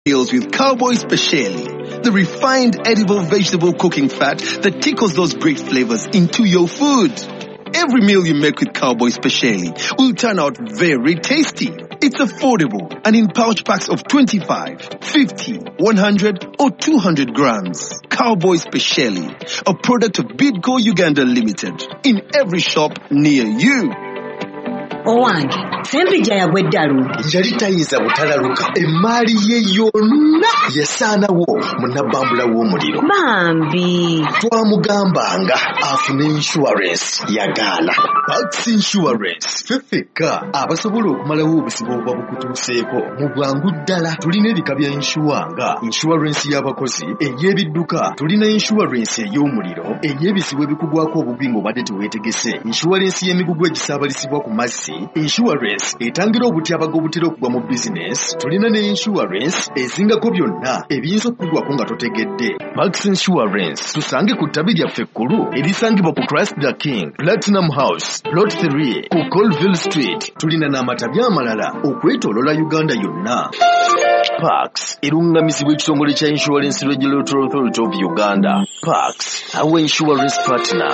Meals with Cowboy Speciali, the refined edible vegetable cooking fat that tickles those great flavors into your food. Every meal you make with Cowboy Speciali will turn out very tasty. It's affordable and in pouch packs of 25, 50, 100 or 200 grams. Cowboy Speciali, a product of Bidco Uganda Limited, in every shop near you. Owange Sempijja yagwa eddalu. Yali tayinza butalaluka, emaali ye yonna yasaanawo mu nabbambula w'omuliro. Bambi. Twamugambanga afune insurance, yagaana. Pax Insurance, ffe ffekka abasobola okumalawo obuzibu obuba bukutuuseeko mu bwangu ddala. Tulina ebika bya insure nga insurance y'abakozi, ey'ebidduka, tulina insurance ey'omuliro, ey'ebizibu ebikugwako obubi ng'obadde teweetegese, insurance y'emigugu egisaabalizibwa ku mazzi, insurance etangira obutyabaga obutera okugwa mu bizinesi. Tulina ne insurance ezingako byonna ebiyinza okukugwako nga totegedde. Pax Insurance, tusange ku ttabi lyaffe ekkulu erisangibwa ku Christ the King Platinum House, Plot 3, ku Colville Street. Tulina n'amatabi amalala okwetoolola Uganda yonna. Pax eruŋŋamizibwa ekitongole kya Insurance Regulatory Authority of Uganda. Pax, our insurance partner.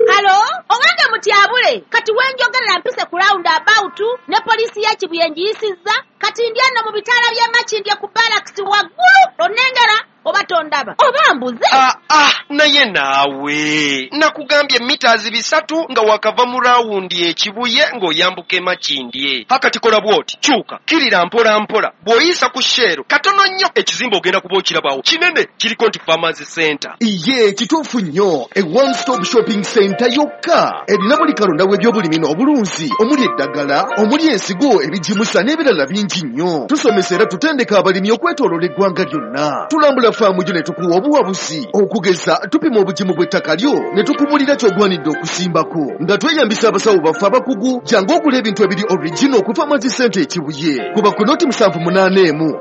Hello, owange Mutyabule, kati wenjogerera mpise ku round about ne poliisi ya Kibuye ngiyisizza, kati ndi eno mu bitaala by'e Makindye ku barracks waggulu, onnengera oba tondaba oba mbuze? Ah, ah, naye naawe nakugambye mita 300 nga wakava mu rawundi ekibuye ng'oyambuka e Makindye. Hakati kola bw'oti, kyuka kirira mpola mpola, bw'oyisa ku Shell katono nnyo ekizimbe ogenda kuba okirabawo kinene, kiriko nti Farmers Center. Iye, kituufu nnyo, e one stop shopping center yokka erina buli kalonda w'ebyobulimi n'obulunzi, omuli eddagala, omuli ensigo, ebigimusa n'ebirala bingi nnyo. Tusomesa era tutendeka abalimi okwetooloola eggwanga lyonna. Tulambula faamu gyo ne tukuwa obuwabuzi. Okugeza, tupima obugimu bw'ettaka lyo ne tukumulira ky'ogwanidde okusimbako nga tweyambisa abasawo baffe abakugu. Jangu ogula ebintu ebiri original ku Farmers Center Ekibuye. Kuba ku 078 36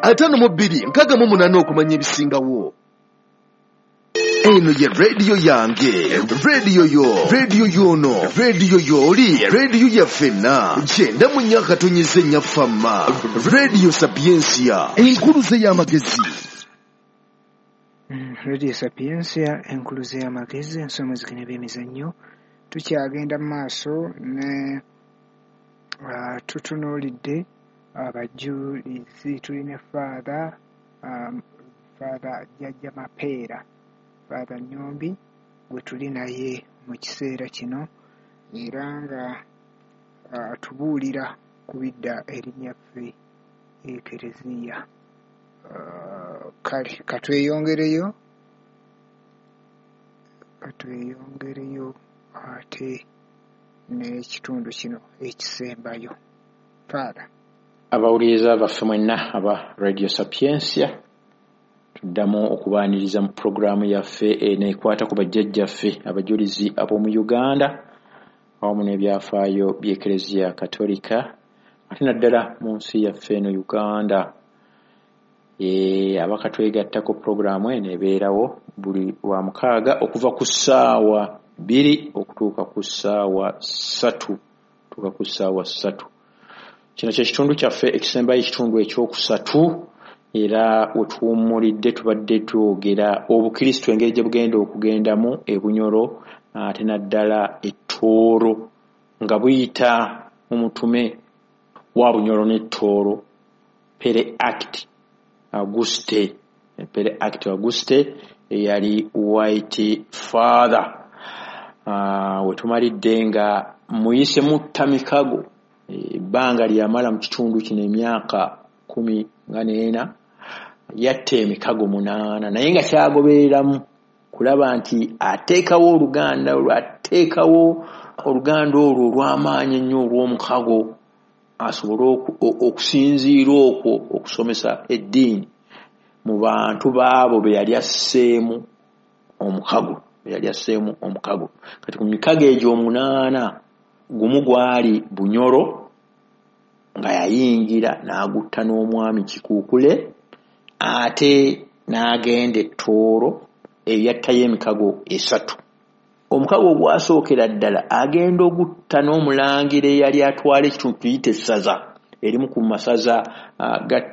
52 68 okumanya ebisingawo. Eno ye rediyo yange, rediyo yo, rediyo yono, rediyo yoli, rediyo yaffenna. 94.4 Fama, Radio Sapientia, enkuluze y'amagezi. Radio Sapientia, enkuluze y'amagezi, ensonga zigenda by'emizannyo. Tukyagenda mu maaso ne tutunuulidde abajulizi. Tulina Father Father Jjajja Mapeera, Father Nyombi gwe tuli naye mu kiseera kino, era nga atubuulira ku bidda erinnyaffe Ekereziya. Kale katweyongereyo ate n'ekitundu kino ekisembayo. Father. Abawuliriza baffe mwenna aba Radio Sapientia, tuddamu okubaaniriza mu pulogulaamu yaffe eno ekwata ku bajjajjaffe abajulizi ab'omu Uganda awamu n'ebyafaayo by'Ekereziya Katolika, ate naddala mu nsi yaffe eno Uganda. Abakatwegattako, pulogulaamu eno ebeerawo buli lwa mukaaga okuva ku ssaawa 2 okutuuka ku ssaawa 3, tuuka ku ssaawa 3. Kino kye kitundu kyaffe ekisembayo, ekitundu ekyokusatu, era wetuwummulidde tubadde twogera obukristo engeri gye bugenda okugendamu e Bunyoro ate naddala e Tooro, nga buyita mu mutume wa Bunyoro ne Tooro, Pere Act Auguste, Pere Act Auguste eyali White Father. Wetumalidde nga muyise mutta mikago, ebbanga lyamala mu kitundu kino emyaka 14, yatta emikago 8, naye nga kyagobereramu kulaba nti ateekawo oluganda olwo, ateekawo oluganda olwo olw'amaanyi ennyo olw'omukago, asobole okusinziira okwo okusomesa eddiini mu bantu baabo be yali asseemu omukago, be yali asseemu omukago. Kati ku mikago egyo 8, gumu gwali Bunyoro nga yayingira n'agutta n'omwami Kikuukule, ate n'agenda e Tooro eyattayo emikago 3. Omukago ogwasookera ddala agenda ogutta n'omulangira eyali atwala ekitundu tuyite essaza Erimu ku masaza ga